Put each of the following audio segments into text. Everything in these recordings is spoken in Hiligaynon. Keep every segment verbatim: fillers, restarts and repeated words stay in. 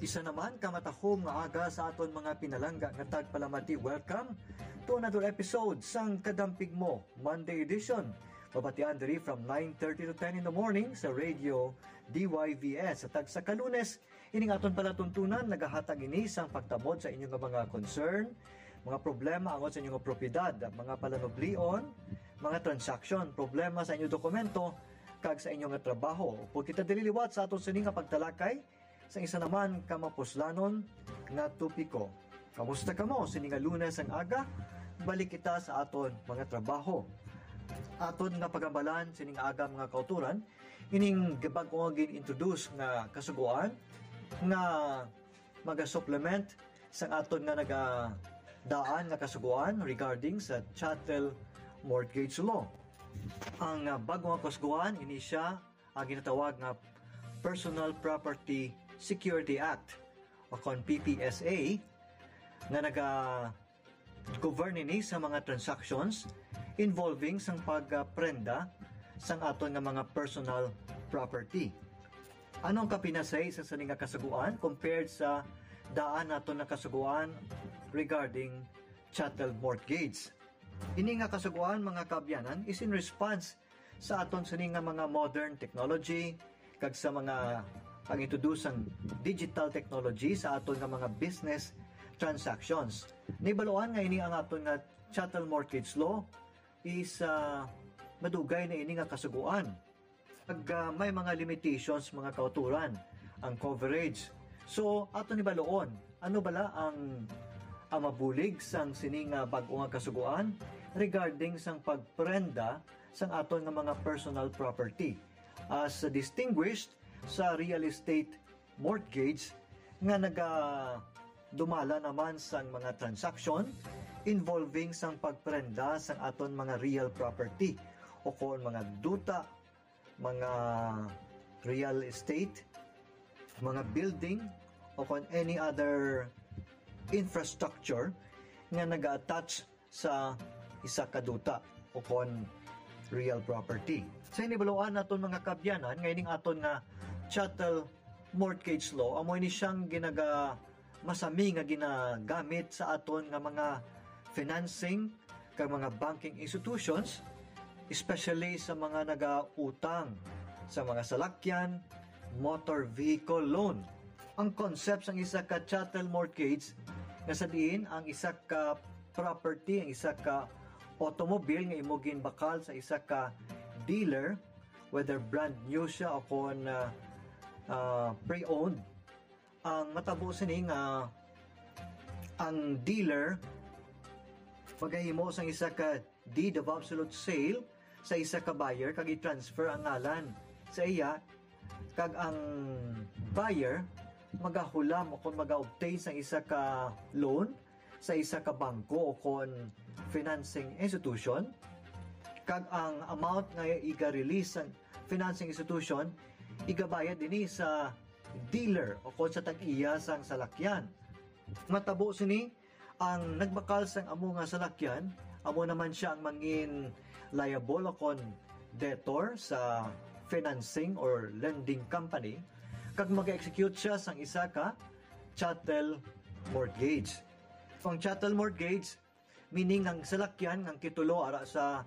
Isa naman ka matahom nga aga sa aton mga pinalangga nga tagpalamati. Welcome to another episode sang Kadampig Mo, Monday edition. Mabatian diri from nine thirty to ten in the morning sa Radio D Y V S. Sa tagsa ka Lunes, ining aton palatuntunan nagahatag ini sang pagtamod sa inyo nga mga concern, mga problema angot sa inyo nga propiedad, mga palanublion, mga transaksyon, problema sa inyo dokumento, kag sa inyo nga trabaho. Upod kita diri liwat sa aton sini nga pagtalakay, sa isa naman ka mapuslanon nga topiko. Kamusta kamo sini nga Lunes ang aga? Balik kita sa aton mga trabaho. Aton nga pagambalan sini nga aga, mga kauturan, ining bag-o nga gin-introduce nga kasugoan nga maga-supplement sa aton nga nagadaan nga kasugoan regarding sa chattel mortgage law. Ang, ah, bag-o nga kasugoan, ini siya ang ginatawag nga Personal Property Security Act o kon P P S A, nga naga-govern ini sa mga transactions involving sang pagprenda sang aton nga mga personal property. Ano ang kapinasay sa sini nga kasugoan compared sa daan naton nga kasugoan regarding chattel mortgage? Ini nga kasugoan, mga kaabyanan, is in response sa aton sini nga mga modern technology kag sa mga pag-introduce sang digital technology sa aton nga mga business transactions. Nahibaloan nga ini ang aton nga chattel mortgage law is, ah, madugay na ini nga kasugoan. Ag, ah, may mga limitations, mga kauturan, ang coverage. So, aton hibaluon, ano bala ang, ang mabulig sang sini nga bag-o nga kasugoan regarding sang pagprenda sang aton nga mga personal property, as distinguished sa real estate mortgage nga nagadumala naman sang mga transaksyon involving sang pagprenda sang aton mga real property o kon mga duta, mga real estate, mga building, o kon any other infrastructure nga naga-attach sa isa ka duta o kon real property. Sa hinibaluan naton, mga kaabyanan, nga ining aton nga chattel mortgage law, amo ini siyang ginaga-, masami nga ginagamit sa aton nga mga financing kag mga banking institutions, especially sa mga nagautang sa mga salakyan, motor vehicle loan. Ang concept sang isa ka chattel mortgage nga sa diin ang isa ka property, ang isa ka automobile nga imo ginbakal sa isa ka dealer, whether brand new siya o kon, ah, ah, pre-owned, ang matabo sini nga ang dealer magahimo sang isa ka deed of absolute sale sa isa ka buyer kag i-transfer ang ngalan sa iya, kag ang buyer magahulam o kon maga-obtain sang isa ka loan sa isa ka bangko o kon financing institution, kag ang amount nga iga-release sang financing institution igabayad ini sa dealer o kon sa tag-iya sang salakyan. Matabo sini, ang nagbakal sang amo nga salakyan, amo naman sia ang mangin liable o kon debtor sa financing or lending company, kag mag-execute siya sang isa ka chattel mortgage. Ang chattel mortgage, meaning ang salakyan nga ang titulo ara sa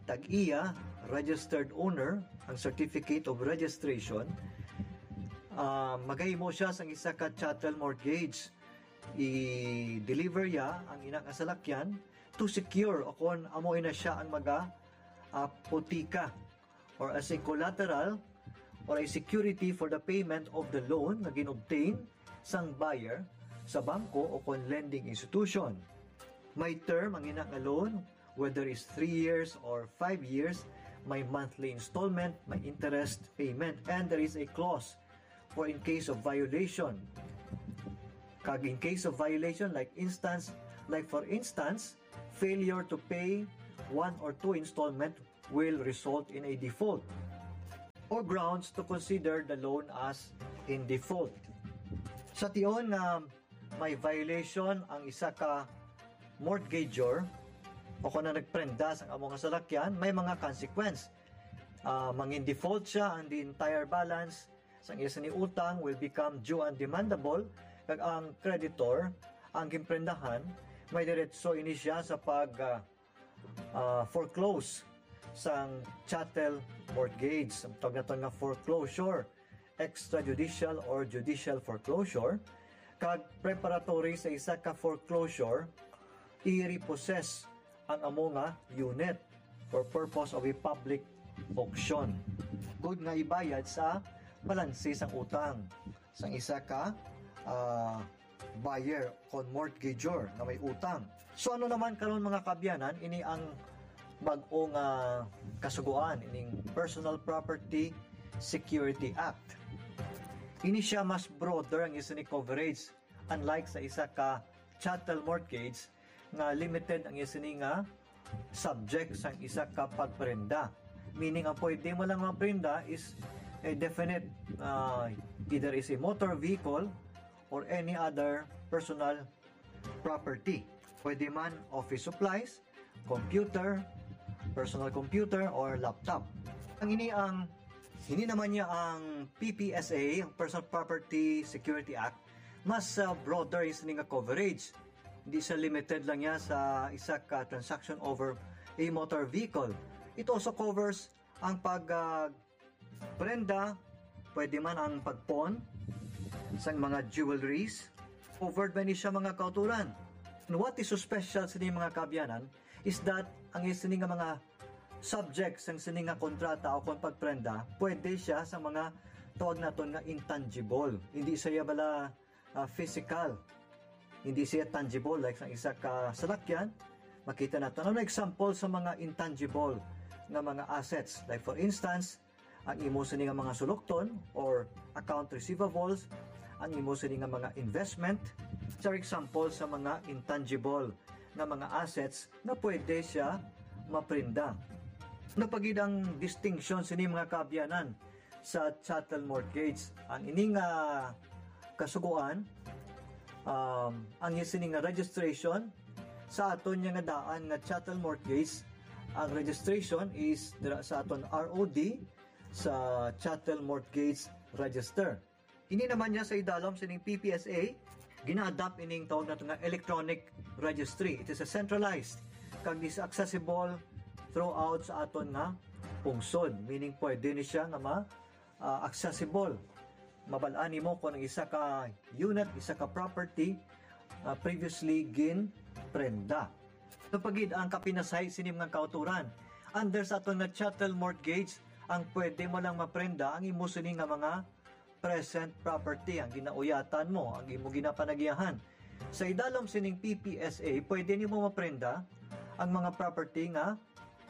tag-iya, registered owner, ang certificate of registration, ah, magahimo siya sang isa ka chattel mortgage. I-deliver iya ang ina nga salakyan to secure o kon amo ina siya ang maga, ah, putika or as a collateral or a security for the payment of the loan nga gin-obtain sang buyer sa bangko o kon lending institution. May term ang ina nga loan, whether it's three years or five years, may monthly installment, may interest payment, and there is a clause for in case of violation. Kag in case of violation, like instance, like for instance, failure to pay one or two installment will result in a default or grounds to consider the loan as in default. Sa tion nga may violation ang isa ka mortgagor o kon ang nagprenda sang amo nga salakyan, may mga consequence. Ah, mangin default siya, and the entire balance Sang iya sini utang will become due and demandable, kag ang creditor, ang ginprendahan, may diretso ini siya sa pag, ah, ah, foreclose sang chattel mortgage. Ang tawag naton nga foreclosure, extrajudicial or judicial foreclosure, kag preparatory sa isa ka foreclosure, i-repossess ang amo nga unit for purpose of a public auction. Good nga ibayad sa balanse sang utang sang isa ka, ah, buyer kon mortgagor nga may utang. So ano naman karon, mga kaabyanan, ini ang bag-o nga kasugoan, ining Personal Property Security Act. Ini siya mas broader ang isa ni coverage, unlike sa isa ka chattel mortgage nga limited ang isa ni nga subject sang isa ka pagprenda. Meaning, ang pwede mo lang maprenda is a definite, ah, either is a motor vehicle or any other personal property. Pwede man office supplies, computer, personal computer, or laptop. Ang ini ang, ini naman niya ang P P S A, Personal Property Security Act, mas, ah, broader is nga coverage. Hindi siya limited lang niya sa isa ka transaction over a motor vehicle. It also covers ang pag, ah, prenda, pwede man ang pagpon sang mga jewelries. Covered ba ni siya, mga kauturan? And what is so special sa mga kaabyanan is that ang isa ni nga mga subject sang sini nga kontrata o kon pagprenda, pwede siya sa mga tawag naton nga intangible. Hindi siya bala, ah, physical. Hindi siya tangible like sang isa ka salakyan. Makita naton ano example sa mga intangible nga mga assets. Like for instance, ang imo sini nga mga sulokton or account receivables, ang imo sini nga mga investment, these are example sa mga intangible nga mga assets nga pwede siya maprenda. Ano pa gid ang distinction sini, mga kaabyanan, sa chattel mortgage? Ang ini nga kasugoan, um, ang sini nga registration sa aton niya nga daan nga chattel mortgage, ang registration is dira sa aton R O D, sa Chattel Mortgage Register. Ini naman niya sa idalom sining P P S A, gina-adopt ining tawag nato nga electronic registry. It is a centralized kag is accessible throughout sa aton nga pungsod. Meaning, pwede ni siya nga ma, ah, accessible. Mabal-an nimo kung ang isa ka unit, isa ka property, ah, previously ginprenda. Ano pa gid ang kapinasay sini mga kauturan? Under sa aton nga chattel mortgage, ang pwede mo lang maprenda ang imo sini nga mga present property, ang ginauyatan mo, ang imo ginapanagiyahan. Sa idalom sining P P S A, pwede nimo maprenda ang mga property nga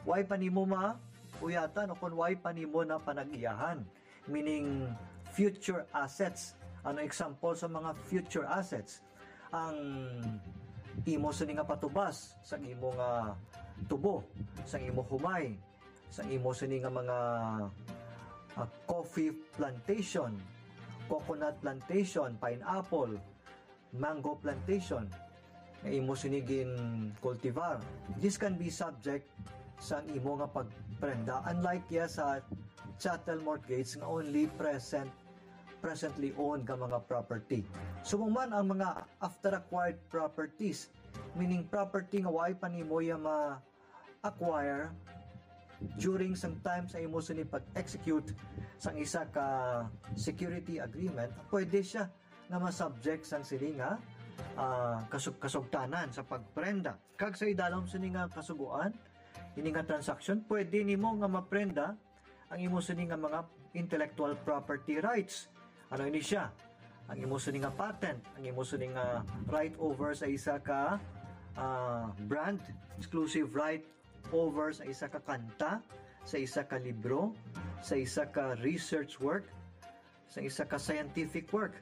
way pa nimo mauyatan o kung way pa nimo na panagiyahan, meaning future assets. Ano example sa mga future assets? Ang imo sini nga patubas sa imo nga tubo, sa imo humay, sa imo sini nga mga, ah, coffee plantation, coconut plantation, pineapple, mango plantation nga imo sini gin cultivar. This can be subject sa imo nga pagprenda, unlike ya sa chattel mortgage nga only present, presently owned nga mga property. Subong man ang mga after acquired properties, meaning property nga way pa nimo ya ma-acquire during sang time sa imo sini pag-execute sang isa ka security agreement, pwede siya nga ma-subject sang sini nga, ah, kasug-, kasugtanan sa pagprenda. Kag sa idalom sini nga kasugoan, ini nga transaction, pwede nimo nga maprenda ang imo sini nga mga intellectual property rights. Ano ini siya? Ang imo sini nga patent, ang imo sini nga right over sa isa ka, ah, brand, exclusive right over sa isa ka kanta, sa isa ka libro, sa isa ka research work, sa isa ka scientific work.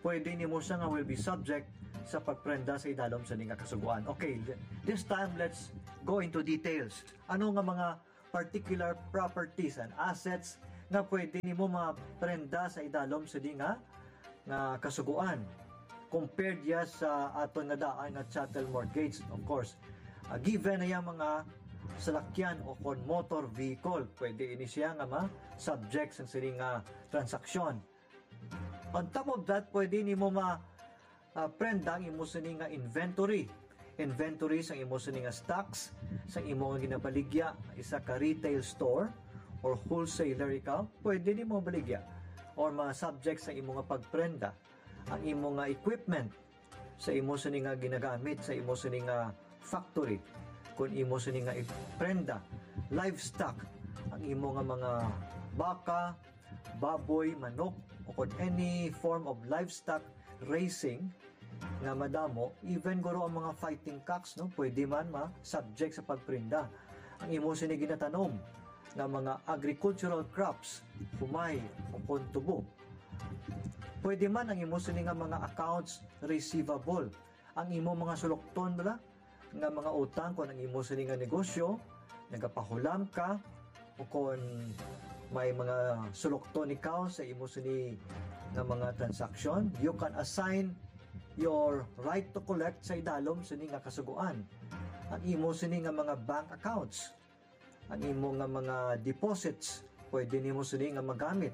Pwede nimo siya nga will be subject sa pagprenda sa idalom sini nga kasugoan. Okay, th-, this time let's go into details. Ano nga mga particular properties and assets nga pwede nimo maprenda sa idalom sini nga, nga kasugoan compared ya sa aton nga daan nga chattel mortgage, of course? Ah, given na yang mga salakyan o kon motor vehicle, pwede ini siya nga ma-subject sa sini nga transaksyon. On top of that, pwede nimo ma ah, prenda ang imo sini nga inventory. Inventory sang imo sini nga stocks, sang imo nga ginabaligya, isa ka retail store or wholesaler ikaw, pwede nimo baligya or ma-subject sa imo nga pagprenda ang imo nga equipment sa imo sini nga ginagamit sa imo sini nga factory. Kung imo sini nga iprenda, livestock, ang imo nga mga baka, baboy, manok, o kung any form of livestock raising nga madamo, even guro ang mga fighting cocks, no, pwede man ma-subject sa pagprenda. Ang imo sini ginatanom nga mga agricultural crops, humay, o kung tubo. Pwede man ang imo sini nga mga accounts receivable, ang imo mga sulokton bala nga mga utang, kung ang imo sini nga negosyo, nagapahulam ka, o kung may mga sulokton ikaw sa imo sini nga mga transaction, you can assign your right to collect sa idalom sini nga kasugoan. Ang imo sini nga mga bank accounts, ang imo nga mga deposits, pwede nimo sini nga magamit.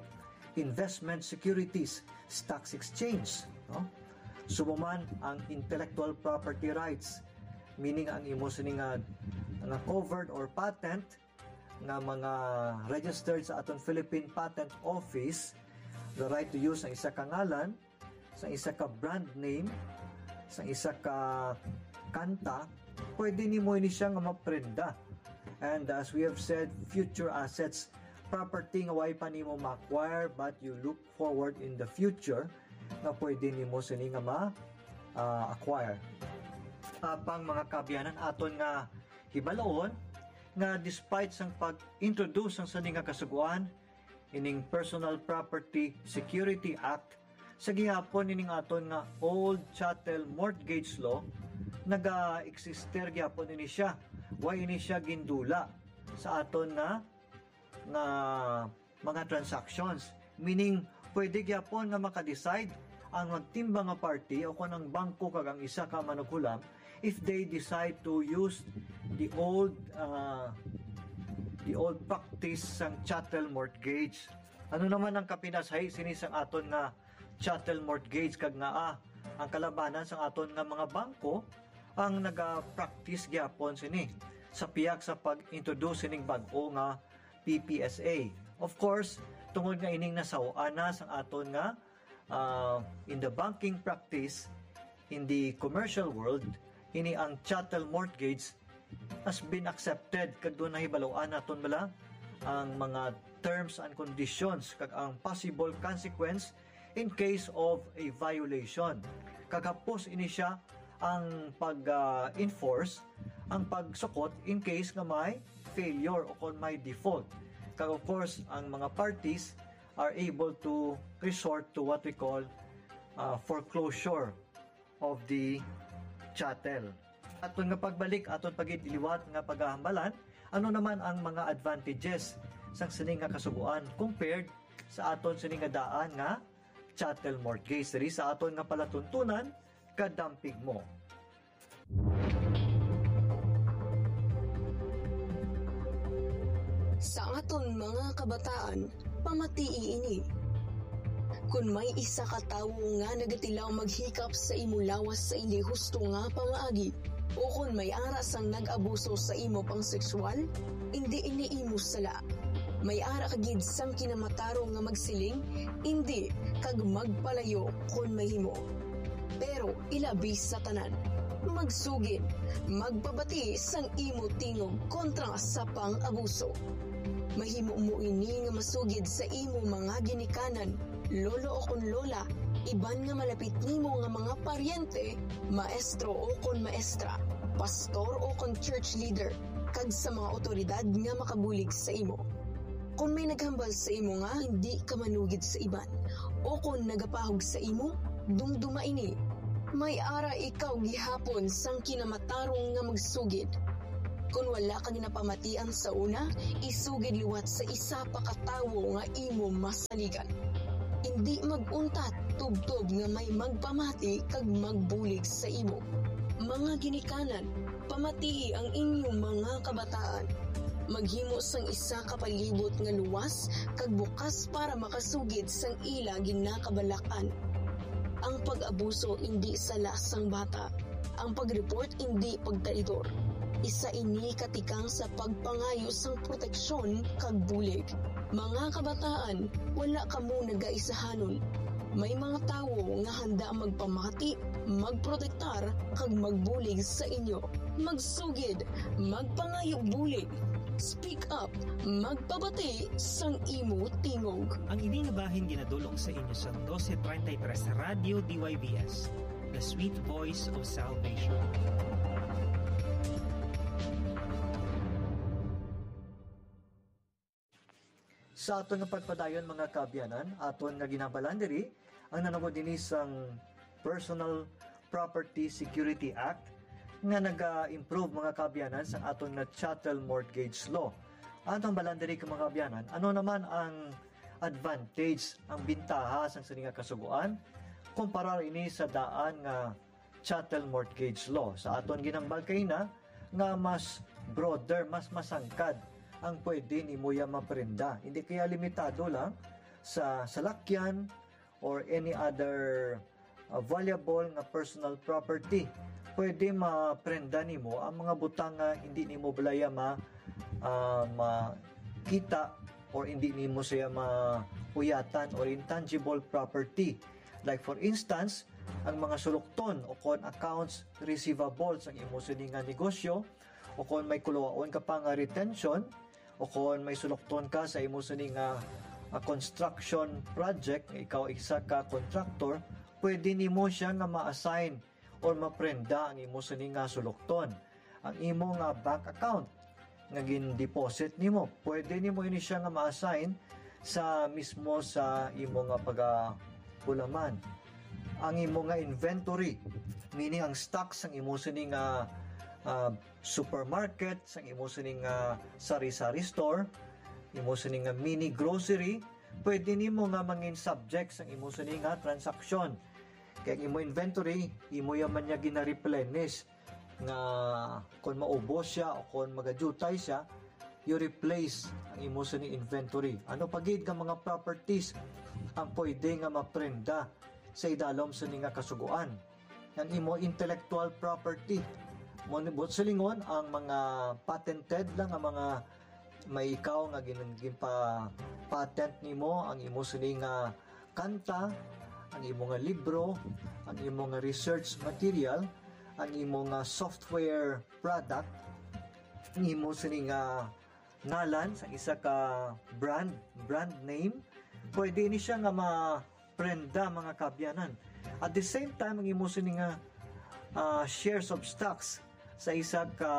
Investment securities, stocks exchange, no? Subo man ang intellectual property rights, meaning ang imo sini nga, nga covered or patent nga mga registered sa aton Philippine Patent Office, the right to use ang isa ka ngalan, sa isa ka brand name, sa isa ka kanta, pwede nimo ini siya nga maprenda. And as we have said, future assets, property nga way pa nimo ma-acquire but you look forward in the future nga pwede nimo sini nga ma, ah, acquire. Apang mga kaabyanan, aton nga hibaloon nga despite sang pag-introduce sang sini nga kasugoan, ining Personal Property Security Act, sa gihapon ining aton nga old chattel mortgage law, naga-exister gihapon ini siya. Way ini siya gindula sa aton nga, nga mga transactions. Meaning, pwede gyapon nga maka-decide ang magtimbang nga party o kon ang bangko kag ang isa ka manughulam if they decide to use the old, uh, the old practice sang chattel mortgage. Ano naman ang kapinasay sini sang aton nga chattel mortgage kag ngaa ang kalabanan sang aton nga mga bangko ang naga-practice gyapon sini sa pihak sa pag-introduce sining bag-o nga P P S A. Of course, tungod nga ining nasaw-an na sang aton nga, ah, in the banking practice, in the commercial world, ini ang chattel mortgage has been accepted kag doon nahibaluan naton bala ang mga terms and conditions kag ang possible consequence in case of a violation. Kag hapos ini siya ang pag, ah, enforce, ang pagsukot in case nga may failure o kon may default. Kag of course, ang mga parties are able to resort to what we call, ah, foreclosure of the chattel. Aton nga pagbalik, aton pagid liwat nga pagahambalan, ano naman ang mga advantages sang sini nga kasugoan compared sa aton sini nga daan nga chattel mortgage? Diri sa aton nga palatuntunan, kadampig mo. Sa aton mga kabataan, pamatii ini. Kon may isa ka tawo nga nagatilaw maghikap sa imo lawas sa indi husto nga pamaagi, o kon may ara sang nag-abuso sa imo pang-sexual, indi ini imo sala. May ara ka gid sang kinamatarong nga magsiling, indi, kag magpalayo kon mahimo. Pero ilabi sa tanan, magsugid, magpabati sang imo tingog kontra sa pang-abuso. Mahimo mo ini nga masugid sa imo mga ginikanan, lolo o kon lola, iban nga malapit nimo nga mga paryente, maestro o kon maestra, pastor o kon church leader, kag sa mga awtoridad nga makabulig sa imo. Kon may naghambal sa imo nga hindi ka manugid sa iban, o kon nagapahog sa imo, dumduma ini. May ara ikaw gihapon sang kinamatarong nga magsugid. Kon wala ka ginapamatian sa una, isugid liwat sa isa pa ka tawo nga imo masaligan. Indi mag-untat tubtob nga may magpamati kag magbulig sa imo. Mga ginikanan, pamatii ang inyong mga kabataan. Maghimo sang isa ka palibot nga luwas kag bukas para makasugid sang ila ginakabalakan. Ang pag-abuso indi sala sang bata. Ang pag-report indi pagtraidor. Isa ini ka tikang sa pagpangayo sang proteksyon kag bulig. Mga kabataan, wala kamo nagaisahanon. May mga tawo nga handa magpamati, magprotektar, kag magbulig sa inyo. Magsugid, magpangayo bulig. Speak up, magpabati sang imo tingog. Ang ini nga bahin ginadul-ong sa inyo sa dose treinta y tres Radyo D Y V S, the sweet voice of salvation. Sa aton nga pagpadayon, mga kaabyanan, aton nga ginabalan diri ang nanugod dinhi sang Personal Property Security Act nga naga-improve, mga kaabyanan, sa aton nga chattel mortgage law. Aton balan diri, mga kaabyanan, ano naman ang advantage, ang bintaha sang sini nga kasugoan kumparar ini sa daan nga chattel mortgage law? Sa aton ginambal kaina nga mas broader, mas masangkad ang pwede nimo ya maprenda. Hindi kaya limitado lang sa salakyan or any other, uh, valuable nga personal property. Pwede maprenda nimo ang mga butang nga hindi nimo balaya ma, ah, makita or hindi nimo siya mauyatan or intangible property. Like for instance, ang mga sulokton o kon accounts receivable sang imo sini nga negosyo, o kon may kuluwaon ka pa nga retention, o kon may sulokton ka sa imo sini nga, ah, construction project, nga ikaw isa ka contractor, pwede nimo siya nga ma-assign or maprenda ang imo sini nga sulokton. Ang imo nga bank account nga gin-deposit nimo, pwede nimo ini siya nga ma-assign sa mismo sa imo nga pagabulaman. Ang imo nga inventory, meaning ang stocks sang imo sini nga, ah, supermarket, sang imo sini nga sari-sari store, imo sini nga mini grocery, pwede nimo nga mangin subject sang imo sini nga transaksyon. Kay ang imo inventory, imo ya man niya gina-replenish, nga kon maubos siya o kon magadutay siya, you replace ang imo sini inventory. Ano pa gid nga mga properties ang pwede nga maprenda sa idalom sini nga kasugoan? Ang imo intellectual property. Mo, buot silingon, ang mga patented lang, ang mga may ikaw nga gin-, ginpa-patent nimo, ang imo sini nga kanta, ang imo nga libro, ang imo nga research material, ang imo nga software product, ang imo sini nga ngalan sa isa ka brand, brand name, pwede ni siya nga maprenda, mga kaabyanan. At the same time, ang imo sini nga, ah, shares of stocks sa isa ka,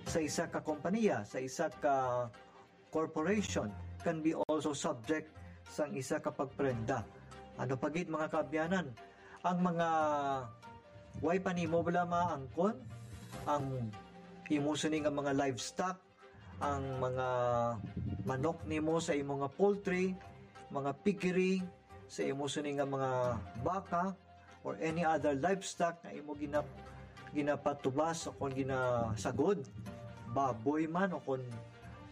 sa isa ka kompanya, sa isa ka corporation can be also subject sang isa ka pagprenda. Ano pa gid, mga kaabyanan? Ang mga way pa nimo bala maangkon, ang imo sini nga mga livestock, ang mga manok nimo sa imo nga poultry, mga piggery, sa imo sini nga mga baka, or any other livestock nga imo ginap-, ginapatubas o kon ginasagod, baboy man o kon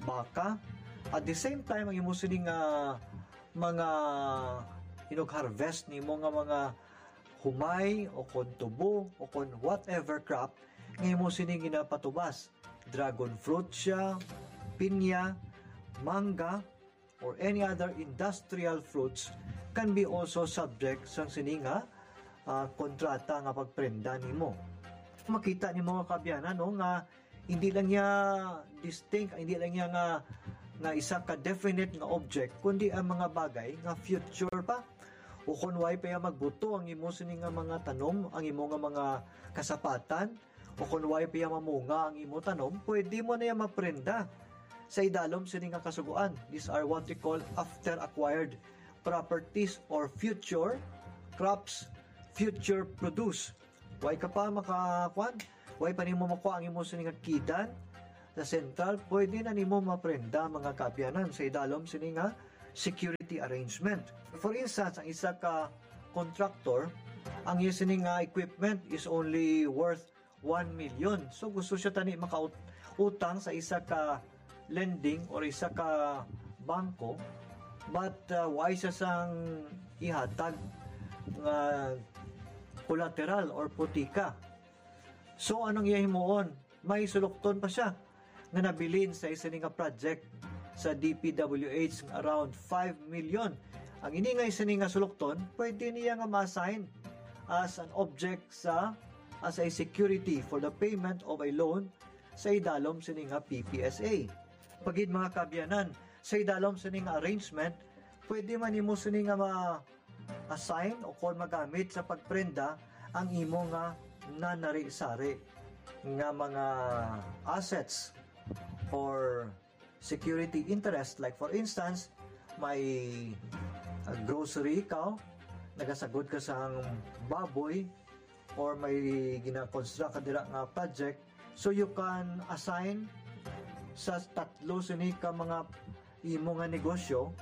baka. At the same time, ang imo sini nga mga inug-harvest nimo nga mga humay o kon tubo o kon whatever crop nga imo sini ginapatubas. Dragon fruit siya, pinya, mangga, or any other industrial fruits can be also subject sang sini nga, ah, kontrata nga pagprenda nimo. Makita nimo, mga kaabyanan, no, nga hindi lang niya distinct, hindi lang niya nga, nga isa ka definite nga object, kundi ang mga bagay nga future pa. O kon way pa ya magbuto ang imo sini nga mga tanom, ang imo nga mga kasapatan, o kon way pa ya mamunga ang imo tanom, pwede mo na ya maprenda sa idalom sini nga kasugoan. These are what we call after acquired properties or future crops, future produce. Way ka pa makakuan, way pa nimo makuha ang imo sini nga kidan sa sentral, pwede na nimo maprenda, mga kaabyanan, sa idalom sini nga security arrangement. For instance, ang isa ka contractor, ang iya sini nga equipment is only worth one million. So, gusto siya tani maka-, utang sa isa ka lending or isa ka bangko, but uh, wa siya sang ihatag nga collateral or putika. So, anong iya himuon? May sulokton pa siya nga nabilin sa isa ni nga project sa D P W H nga around five million. Ang ini nga isa ni nga sulokton, pwede niya nga ma-assign as an object sa as a security for the payment of a loan sa idalom sini nga P P S A. Pagid, mga kaabyanan, sa idalom sini nga arrangement, pwede man nimo sini nga ma-assign o kon magamit sa pagprenda ang imo nga nanari-sari nga mga assets or security interest. Like, for instance, may uh, grocery ikaw, nagasagod ka sang baboy, or may gina-construct ka dira nga project, so you can assign sa tatlo sini ka mga imo nga negosyo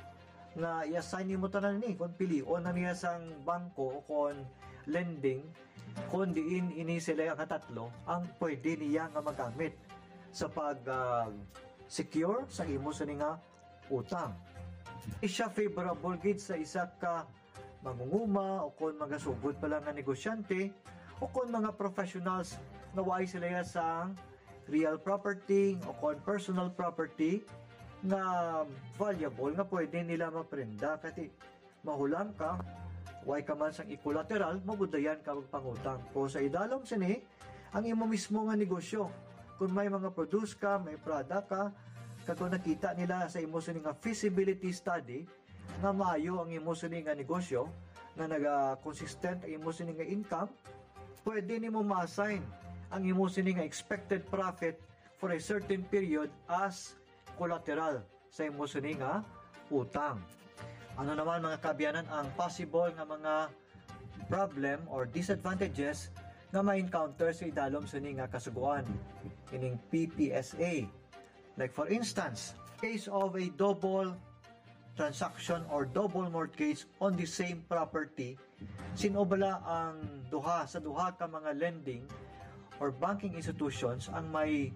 nga i-assign nimo tanan ni, kung pilion na niya sang bangko o kon lending, kung diin ini sila nga tatlo ang pwede niya nga magamit sa pag ah, secure sa imo sini nga utang. Di siya favorable gid sa isa ka mangunguma o kon magasugod pa lang nga negosyante o kon mga professionals nga waay sila ya sang real property o kon personal property nga valuable nga pwede nila maprenda, kati mahulang ka, way ka man sang collateral, mabudayan ka magpangutang. Pero sa idalom sini, ang imo mismo nga negosyo, kung may mga produce ka, may product ka, kag kung nakita nila sa imo sini nga feasibility study nga maayo ang imo sini nga negosyo, nga naga-consistent ang imo sini nga income, pwede nimo ma-assign ang imo sini nga expected profit for a certain period as collateral sa imo sini nga utang. Ano naman, mga kaabyanan, ang possible nga mga problem or disadvantages nga ma-encounter sa idalom sini nga kasugoan, ining P P S A? Like, for instance, case of a double transaction or double mortgage on the same property, sin-o bala ang duha sa duha ka mga lending or banking institutions ang may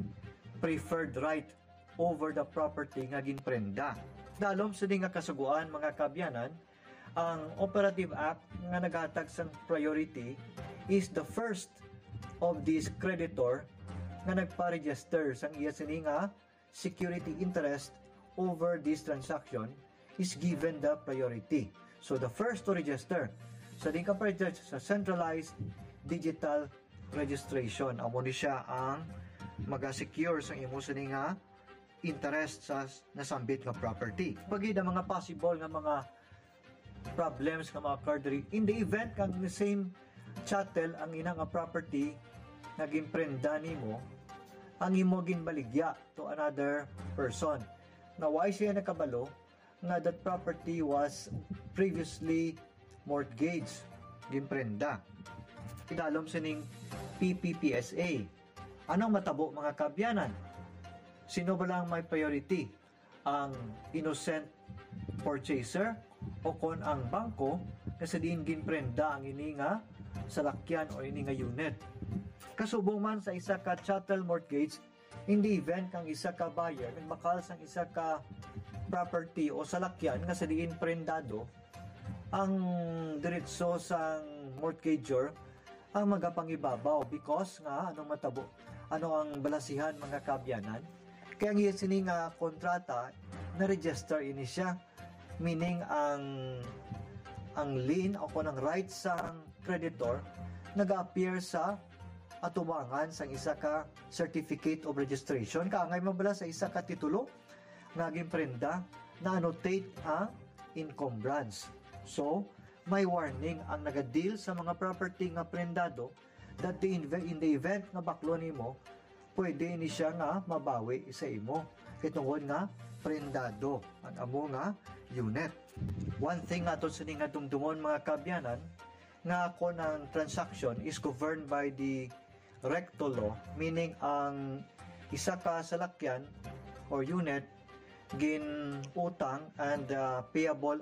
preferred right over the property nga ginprenda? Dalom sini nga kasugoan, mga kaabyanan, ang Operative Act nga naghatag sang priority is the first of this creditor nga nagpa-register sang iya sini nga security interest over this transaction is given the priority. So, the first to register sa di ka pa-register sa centralized digital registration, amo ni siya ang maga-secure sa imo sini nga interest sa nasambit nga property. Pagid ang mga possible nga mga problems nga ma-occur diri, in the event kang the same chattel ang ina nga property nga ginprenda nimo, ang imo ginbaligya to another person, na why siya nakabalo nga that property was previously mortgage, ginprenda. Idalom sining P P P S A. Anong matabo, mga kaabyanan? Sino ba lang may priority? Ang innocent purchaser o kon ang bangko nga sa diin ginprenda ang ini nga salakyan o ini nga unit? Kasubong man sa isa ka chattel mortgage, in the event kang isa ka buyer nagbakal sang isa ka property o salakyan nga sa diin prendado, ang diretso sang mortgager ang magapangibabaw because nga anong matabo, ano ang balasihan, mga kaabyanan? Kaya ang iya sini nga kontrata, na-register ini siya, meaning ang ang lien o kon ang right sang creditor nag-appear sa atubangan sang isa ka certificate of registration, kaangay man bala sa isa ka titulo nga ginprenda, na-annotate ang encumbrance. So, may warning ang nagadeal sa mga property nga prendado that the inve- in the event nga baklo nimo, pwede ini siya nga mabawi sa imo kay tungod nga prendado ang amo nga unit. One thing nga aton sini nga dumdumon, mga kaabyanan, nga kon ang transaction is governed by the recto law, meaning ang isa ka salakyan or unit ginutang and uh, payable